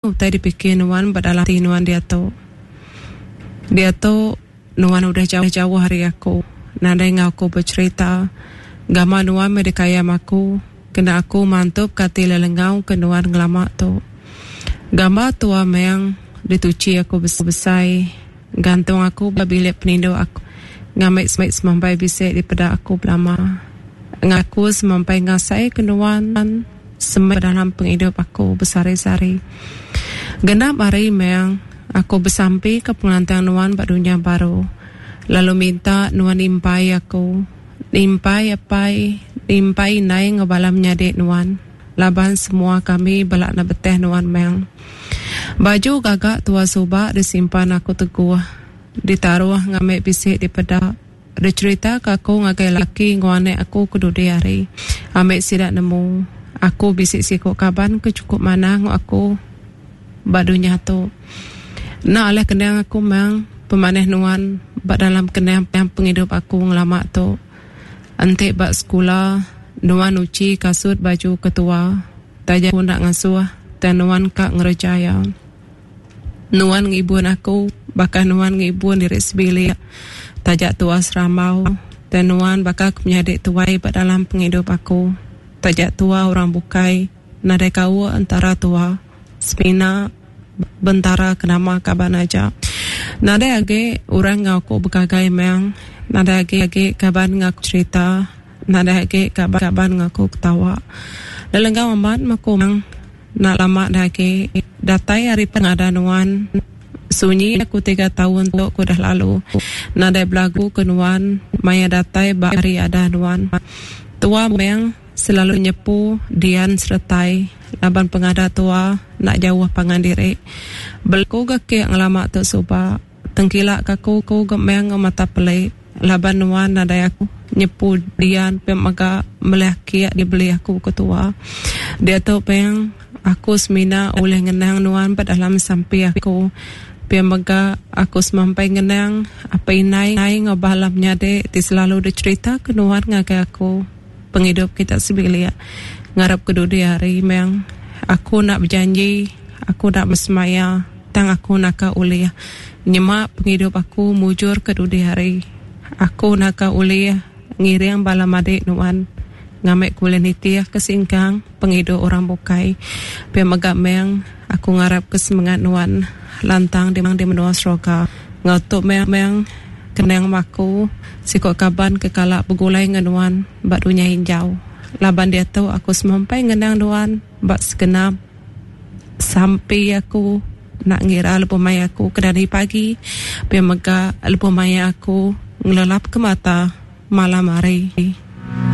Utai dipikir nuan ba dalam ati nuan diatu. Diatu, nuan udah jauh-jauh ari aku, nadai enggau aku becherita. Gamal nuan meh dikayam aku, kena aku mantupka ati lelengau ke nuan ngelama tu. Gambar tua meng dituchi aku besai, gantung aku ba bilik peninduk aku ngambi semampai bisi dipeda aku belama. Ngaku semampai ngasaika nuan. Semak dalam pengidup aku besehari-sehari. Genap hari meh aku besampi ke pengelantang nuan ba dunya baru, lalu minta nuan nimpai aku, nimpai apai, nimpai indai enggau bala menyadi nuan, laban semua kami bela enda beteh nuan meh. Baju gaga tua suba disimpan aku teguh, ditaruh ngambi bisi dipeda. Dicherita ka aku ngagai laki enggau anak aku ke dudi hari. Ambi sida nemu, aku bisi siku kaban ke chukup manah enggau aku ba dunya tu. Enda alih kenang aku mang pemanah nuan ba dalam kenang pengidup aku ngelama tu. Enti ba sekula, nuan uchi kasut baju ketua taja aku enda ngasuh tang nuan ka ngereja iya. Nuan ngibun aku baka nuan ngibun diri sebilik. Taja tua serambau, tang nuan baka ke menyadi tuai ba dalam pengidup aku. Taja tua orang bukai, nadai kaul entara tua. Semina bentara ke nama kaban aja. Nadai agi orang enggau aku begagai meng, nadai agi agi kaban enggau aku cherita, nadai agi kaban enggau aku ketawa. Lelenggau amat meh aku meng. Enda lama dah agi datai ari pengada nuan. Sunyi aku tiga taun tu ku dah lalu. Nadai belagu ke nuan maya datai ba hari ada nuan. Tua meng selalu nyepu dian seretai laban pengada tua enda jauh pangan diri. Belagu ga kek ngelama tu suba. Tengkila ka ku ku ga meng enggau mata peli laban nuan nadai aku nyepu dian pia mega melih kek dibeli aku ke tua. Diatu peng aku semina ulih ngenang nuan ba dalam sampi aku. Pia mega aku semampai ngenang apai indai enggau bala menyadi ti selalu dicherita ke nuan ngagai aku pengidup kita sebilik. Ngarap ke dudi hari meng aku enda bejanji aku enda besemaya. Tang aku naka ulih nyema pengidup aku mujur ke dudi hari. Aku naka ulih ngiring bala madik nuan ngambi ku ulih nitih ke singkang pengidup orang bukai. Pia mega meng aku ngarap ke semengat nuan lantang di menua seroga. Enggau tu meh meng kenang aku siku kaban ke kala begulai enggau nuan ba dunya injau. Laban diatu aku semampai ngenang nuan ba segenap. Sampi aku enda ngira lebuh maya aku ke dani pagi pia mega lebuh maya aku ngelelap ke mata malam hari.